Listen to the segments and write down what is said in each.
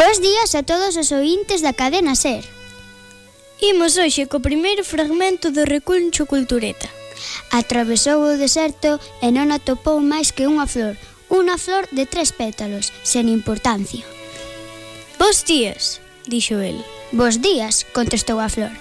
Bos días a todos os ointes da cadena SER. Imos hoxe co primeiro fragmento do Recuncho Cultureta. Atravesou o deserto e non atopou máis que unha flor de 3 pétalos, sen importancia. Bos días, dixo el. Bos días, contestou a flor.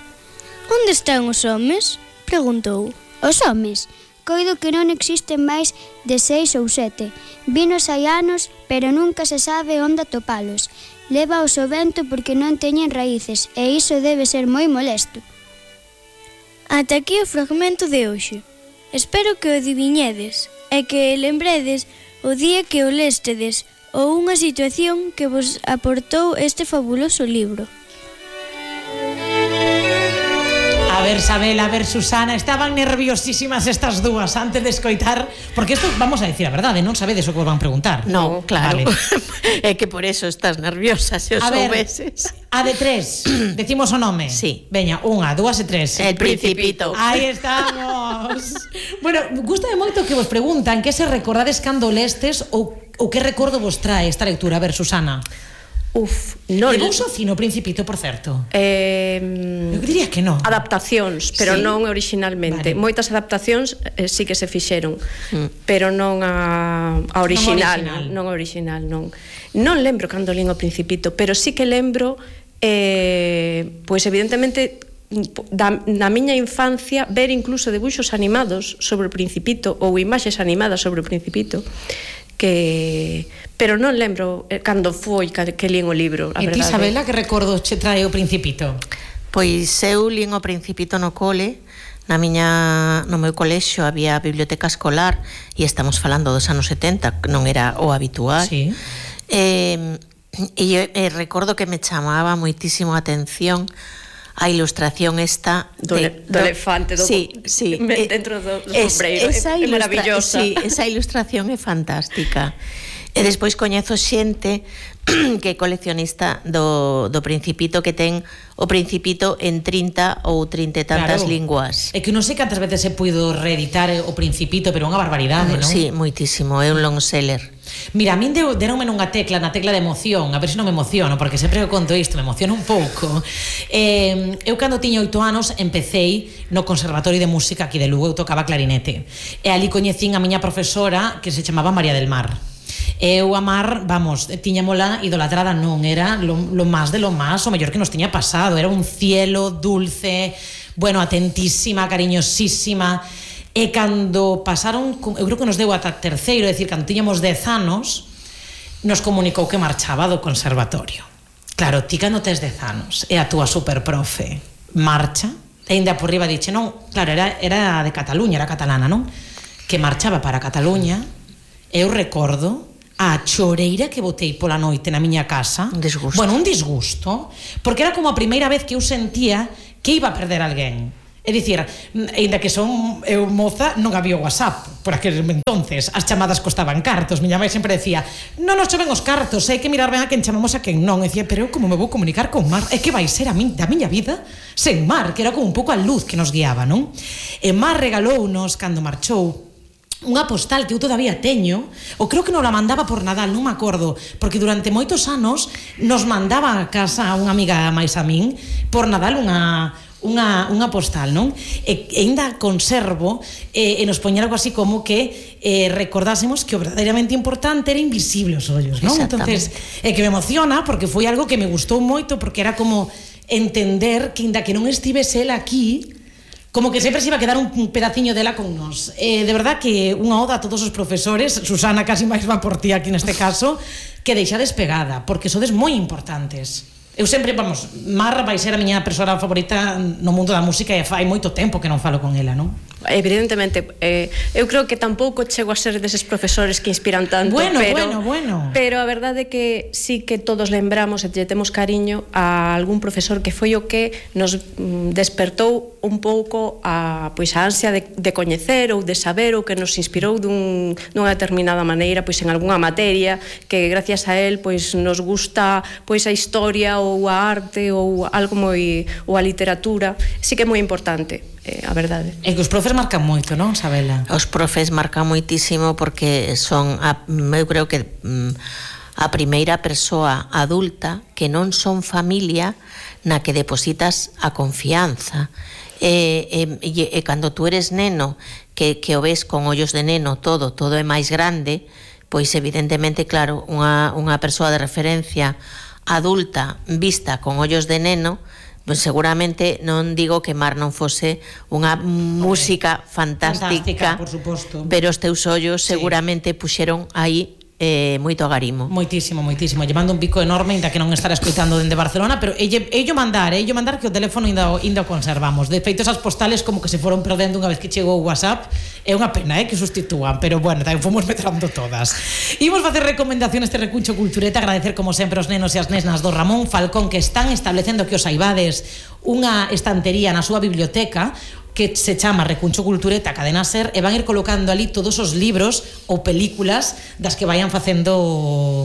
Onde están os homes? Preguntou. Os homes? Coido que non existen máis de 6 ou 7. Vinos hai anos, pero nunca se sabe onde atopalos. Lévaos o vento porque non teñen raíces, e iso debe ser moi molesto. Ata aquí o fragmento de hoxe. Espero que o adiviñedes e que lembredes o día que o lestedes ou unha situación que vos aportou este fabuloso libro. A ver, Sabela, a ver, Susana, estaban nerviosísimas estas dúas antes de escoitar, porque isto, vamos a decir a verdade, non sabedes o que vos van preguntar. No, claro. Vale. É que por eso estás nerviosa, se os soubeses. A de 3, decimos o nome. Sí. Veña, 1, 2 e 3. El Principito. Aí estamos. Bueno, gústame moito que vos preguntan que se recordades cando lestes ou que recordo vos trae esta lectura. A ver, Susana. Non. Levou Socino o Principito, por certo? Eu diría que non. Adaptacións, pero sí, non originalmente. Vale. Moitas adaptacións sí que se fixeron, pero non a original. Non original, non. Non lembro cando lín o Principito, pero sí que lembro, pois evidentemente, na miña infancia, ver incluso debuxos animados sobre o Principito ou imaxes animadas sobre o Principito, pero non lembro cando foi que lín o libro, a verdade. E ti, Isabela, que recordo che trae o Principito? Pois eu lín o Principito no cole. No meu colexio había a biblioteca escolar, e estamos falando dos anos 70, non era o habitual. Sí. E recordo que me chamaba moitísimo a atención a ilustración esta do elefante dentro do sombreiro, é maravillosa. Sí, esa ilustración é fantástica. E despois coñezo xente que é coleccionista do Principito, que ten o Principito en 30 ou 30 e tantas linguas. É que non sei cantas veces se puido reeditar o Principito, pero é unha barbaridade, non? Sí, moitísimo, é un long seller. Mira, a min deronme na tecla de emoción, a ver se non me emociono, porque sempre que conto isto me emociona un pouco. Eu cando tiña 8 anos empecéi no Conservatorio de Música aquí de Lugo, eu tocaba clarinete, e ali coñecín a miña profesora que se chamaba María del Mar. Eu a Mar, vamos, tiñamola idolatrada, non era lo máis de lo máis, o mellor que nos tiña pasado, era un cielo dulce, bueno, atentísima, cariñosísima. E cando pasaron, eu creo que nos deu ata terceiro, é dicir, cando tiñamos 10 anos, nos comunicou que marchaba do conservatorio. Claro, ti cando tes 10 anos e a túa superprofe marcha, e ainda por riba dixe, non, claro, era de Cataluña, era catalana, non? Que marchaba para Cataluña, eu recordo a choreira que botei pola noite na miña casa. Un disgusto. Bueno, un disgusto, porque era como a primeira vez que eu sentía que iba a perder alguén. É dicir, ainda que son eu moza, non había WhatsApp por aquel entonces, as chamadas costaban cartos. Miña mãe sempre decía, non nos choven os cartos, hai que mirar ben a quen chamamos a quen non. E decía, pero eu como me vou comunicar con Mar? É que vai ser da miña vida sen Mar, que era como un pouco a luz que nos guiaba, non? E Mar regalounos, cando marchou, unha postal que eu todavía teño, ou creo que non la mandaba por Nadal, non me acordo, porque durante moitos anos nos mandaba a casa unha amiga máis a min por Nadal unha postal, non? E ainda conservo e nos poñer algo así como que recordásemos que o verdadeiramente importante era invisible os ollos, non? Entonces, que me emociona porque foi algo que me gustou moito, porque era como entender que ainda que non estivese ela aquí, como que sempre se iba a quedar un pedaciño dela con nós. De verdad que unha oda a todos os profesores, Susana, casi máis va por ti aquí neste caso, que deixades pegada, porque sodes moi importantes. Eu sempre, vamos, Mar vai ser a miña persoa favorita no mundo da música e fai moito tempo que non falo con ela, non? Evidentemente, eu creo que tampouco chego a ser deses profesores que inspiran tanto, bueno. Pero a verdade é que sí que todos lembramos e lle temos cariño a algún profesor que foi o que nos despertou un pouco a ansia de coñecer ou de saber, ou que nos inspirou dunha determinada maneira en algunha materia, que gracias a él nos gusta a historia ou a arte ou algo ou a literatura. Sí que é moi importante, a verdade. É que os profes marcan moito, non, Sabela? Os profes marcan moitísimo porque son, eu creo que a primeira persoa adulta que non son familia na que depositas a confianza. E cando tú eres neno, que o ves con ollos de neno, todo é máis grande, pois evidentemente, claro, unha persoa de referencia adulta vista con ollos de neno, pois seguramente non digo que Mar non fose unha música fantástica, por suposto, pero os teus ollos seguramente puxeron aí moito agarimo. Moitísimo. Lle mando un pico enorme, ainda que non estará escoitando dende Barcelona, pero ello mandar que o teléfono ainda o conservamos. De feito, esas postales como que se foron perdendo unha vez que chegou o WhatsApp. É unha pena que sustitúan, pero bueno, tamén fomos metrando todas. Imos facer recomendacións este recuncho Cultureta, agradecer como sempre os nenos e as nesnas do Ramón Falcón que están establecendo que os saibades unha estantería na súa biblioteca que se chama Recuncho Cultureta Cadena Ser, e van ir colocando ali todos os libros ou películas das que vayan facendo,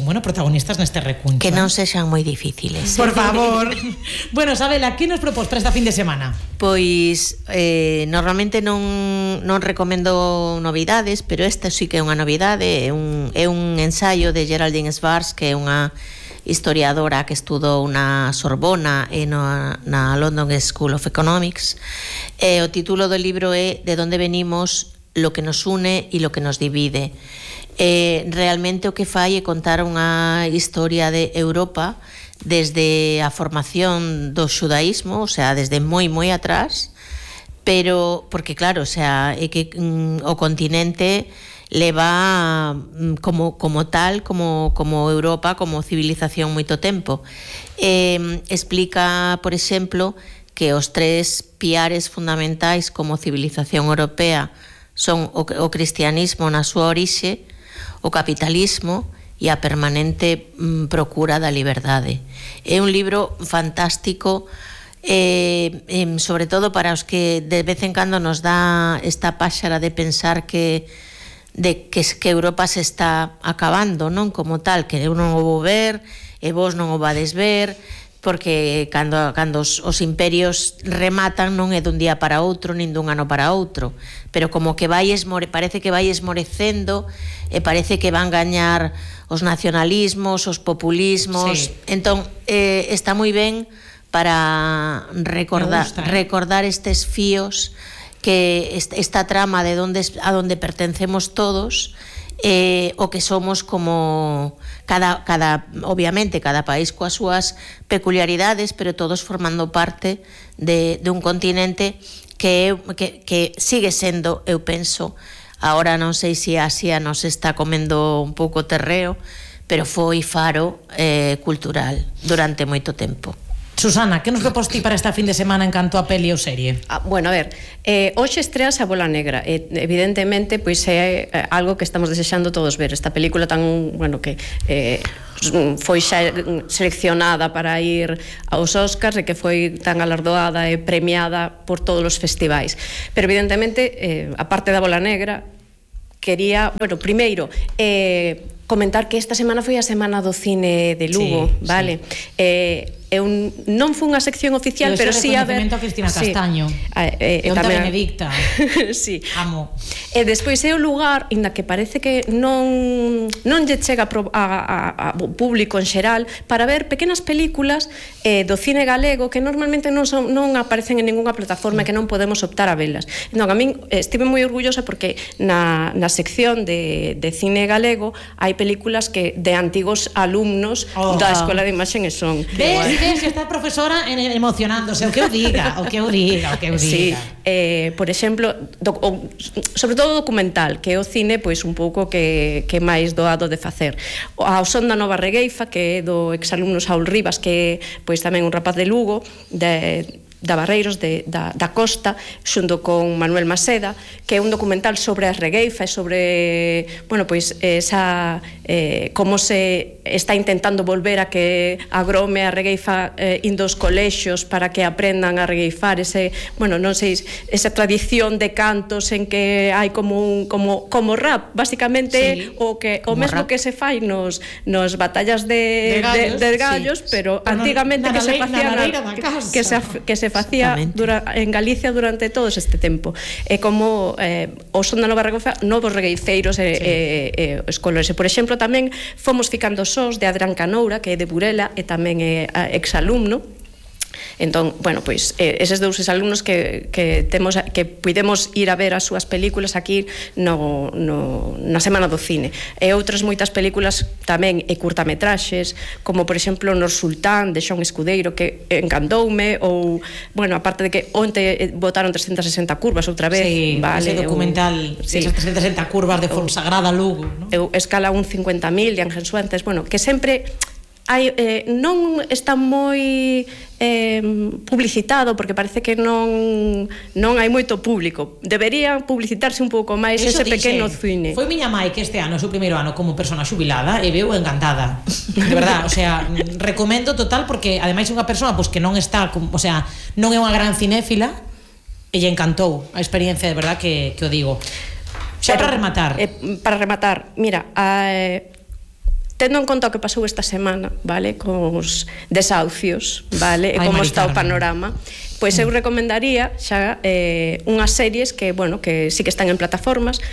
bueno, protagonistas neste recuncho. Que non sexan moi difíciles. Por favor. Bueno, Sabela, que nos propós para esta fin de semana? Pois normalmente non recomendo novidades, pero esta sí que é unha novidade, é un ensaio de Geraldine Schwartz, que é unha historiadora que estudou na Sorbona e na London School of Economics. O título do libro é De donde venimos, lo que nos une e lo que nos divide. Realmente o que fai é contar unha historia de Europa desde a formación do xudaísmo, o sea, desde moi atrás, pero porque claro, o sea, é que o continente leva como tal, como Europa, como civilización moito tempo. Explica, por exemplo, que os tres piares fundamentais como civilización europea son o cristianismo na súa orixe, o capitalismo e a permanente procura da liberdade. É un libro fantástico, sobre todo para os que de vez en cando nos dá esta páxara de pensar que Europa se está acabando, non como tal, que eu non o vou ver e vos non o vades ver, porque cando os imperios rematan non é dun día para outro nin dun ano para outro, pero como que parece que vai esmorecendo e parece que van gañar os nacionalismos, os populismos. Sí. Entón está moi ben para recordar estes fíos, que esta trama de a donde pertencemos todos, o que somos como obviamente cada país coas súas peculiaridades, pero todos formando parte de un continente que sigue sendo, eu penso, agora non sei se Asia nos está comendo un pouco terreo, pero foi faro cultural durante moito tempo. Susana, que nos propós ti para esta fin de semana en canto a peli ou serie? Bueno, a ver, hoxe estreas A Bola Negra. Evidentemente, pois é algo que estamos desexando todos ver. Esta película tan, bueno, que foi xa seleccionada para ir aos Óscars e que foi tan galardoada e premiada por todos os festivais. Pero evidentemente, a parte da Bola Negra, quería, bueno, primeiro, comentar que esta semana foi a semana do cine de Lugo, sí, vale? Sí. Non foi unha sección oficial, pero sí a ver... a Cristina Castaño. E onta Benedicta. Sí. Amo. E despois é o lugar, inda que parece que non lle chega a público en xeral, para ver pequenas películas do cine galego que normalmente non aparecen en ninguna plataforma, que non podemos optar a velas. Entón, a min estive moi orgullosa porque na sección de cine galego hai películas que de antigos alumnos da Escola de Imaxen e Son. Ves que está a profesora emocionándose, o que eu diga. Sí, por exemplo, sobre todo documental, que é o cine pois un pouco que máis doado de facer. A Son da Nova Regueifa, que é do exalumno Saúl Rivas, que pois tamén un rapaz de Lugo, da Barreiros, da Costa, xunto con Manuel Maseda, que é un documental sobre a regueifa e sobre, bueno, pois esa como se está intentando volver a que agrome a regueifa indo aos colexios para que aprendan a regueifar ese, bueno, non sei, esa tradición de cantos en que hai como rap, basicamente, sí, o mesmo rap que se fai nos batallas de gallos, sí, pero antigamente que se facían que se facía en Galicia durante todo este tempo. É como o son da Nova Regofa, novos regueiceiros e os colores. E, por exemplo, tamén fomos ficando sós de Adrián Canoura, que é de Burela e tamén é exalumno. Entón, bueno, pois eses dous exalumnos que temos, que puidemos ir a ver as súas películas aquí na Semana do Cine, e outras moitas películas tamén e curtametraxes, como por exemplo Nor Sultán de Xon Escudeiro, que encantoume, ou, bueno, aparte de que onte botaron 360 curvas outra vez, ese documental, esas 360 curvas de Fonsagrada Lugo, ¿no? Escala 1.50.000 de Ángel Suárez, bueno, que sempre non está moi publicitado, porque parece que non hai moito público. Debería publicitarse un pouco máis ese pequeno cine. Foi miña mai que este ano, o seu primeiro ano como persona xubilada, e veu encantada. De verdad, o sea, recomendo total, porque ademais é unha persona pois que non está, o sea, non é unha gran cinéfila, e lle encantou a experiencia, de verdad que o digo. Xa para rematar. Para rematar, mira, tendo en conta o que pasou esta semana, vale, con os desahucios, vale, e como está o panorama, pois eu recomendaría xa unhas series que, bueno, que sí que están en plataformas,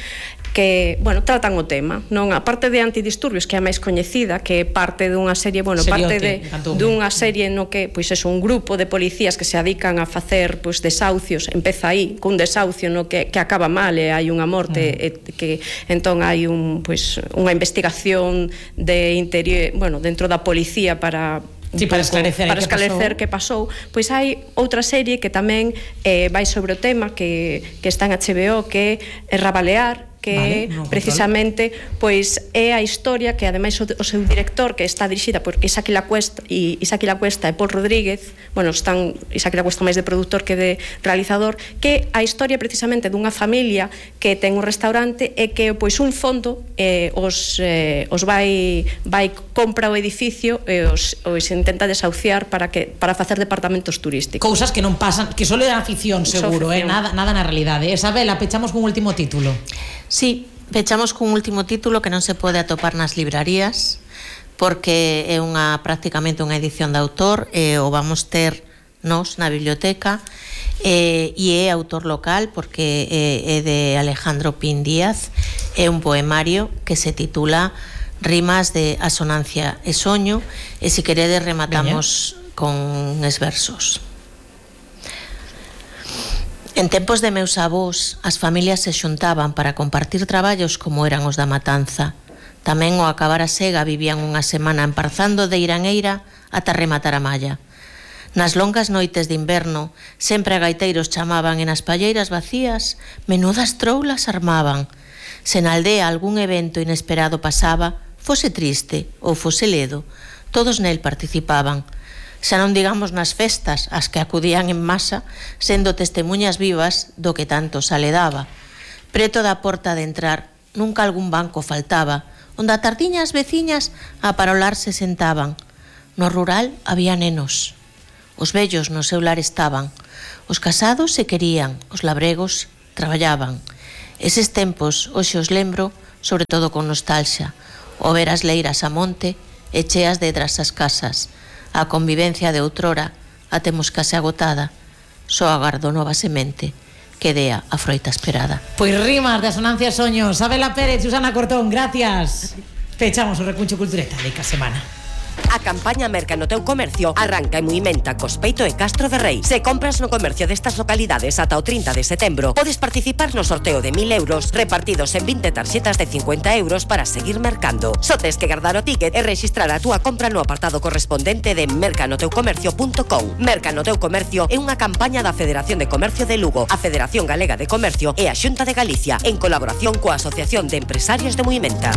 que, bueno, tratan o tema, non? A parte de Antidisturbios, que é a máis coñecida, que é parte dunha serie, bueno, parte dunha serie no que, pois, é un grupo de policías que se dedican a facer, pois, desahucios, empeza aí, cun desahucio no que acaba mal e hai unha morte, que entón hai pois, unha investigación de interior, bueno, dentro da policía para esclarecer que pasou. Pois hai outra serie que tamén vai sobre o tema, que está en HBO, que é Rabalear, que precisamente pois é a historia que ademais o seu director, que está dirixida por Isaac Lacuesta e Paul Rodríguez, bueno, están Isaac Lacuesta máis de produtor que de realizador, que a historia precisamente dunha familia que ten un restaurante e que pois un fondo os vai compra o edificio e os intenta desahuciar para facer departamentos turísticos. Cousas que non pasan, que só é a ficción, seguro, nada na realidade. Isabela, pechamos con un último título. Sí, pechamos cun último título que non se pode atopar nas librarías, porque é prácticamente unha edición de autor, o vamos ter nos na biblioteca, e é autor local, porque é de Alejandro Pin Díaz, é un poemario que se titula Rimas de asonancia e soño, e se queredes rematamos con uns versos. En tempos de meus avós, as familias se xuntaban para compartir traballos como eran os da matanza. Tamén ao acabar a sega vivían unha semana emparzando de eira en eira ata rematar a malla. Nas longas noites de inverno, sempre a gaiteiros chamaban e nas palleiras vacías menudas troulas armaban. Se na aldea algún evento inesperado pasaba, fose triste ou fose ledo, todos nel participaban. Xa non digamos nas festas, as que acudían en masa, sendo testemunhas vivas do que tanto se aledaba. Preto da porta de entrar, nunca algún banco faltaba, onde a tardiña as veciñas a parolar se sentaban. No rural había nenos. Os vellos no seu lar estaban. Os casados se querían, os labregos traballaban. Eses tempos, hoxe os lembro, sobre todo con nostalxa. O ver as leiras a monte e cheas de edras as casas. A convivencia de outrora a temos case agotada. Só agardo nova semente que dea a froita esperada. Pois rimas de asonancia e soños. Isabela Pérez, Susana Cortón, gracias. Pechamos o Recuncho Cultureta de cada semana. A campaña Merca no teu comercio arranca e Muimenta, Cospeito e Castro de Rei. Se compras no comercio destas localidades ata o 30 de setembro, podes participar no sorteo de 1.000 euros repartidos en 20 tarxetas de 50 euros para seguir mercando. Só tes que guardar o ticket e registrar a túa compra no apartado correspondente de mercanoteucomercio.com. Merca no teu comercio é unha campaña da Federación de Comercio de Lugo, a Federación Galega de Comercio e a Xunta de Galicia, en colaboración coa Asociación de Empresarios de Muimenta.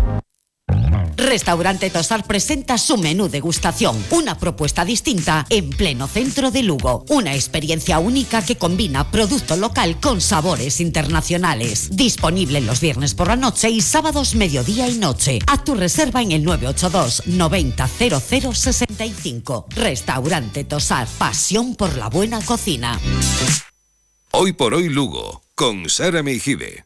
Restaurante Tosar presenta su menú degustación, una propuesta distinta en pleno centro de Lugo. Una experiencia única que combina producto local con sabores internacionales. Disponible los viernes por la noche y sábados mediodía y noche. Haz tu reserva en el 982 90 00 65. Restaurante Tosar, pasión por la buena cocina. Hoy por hoy Lugo, con Sara Meijide.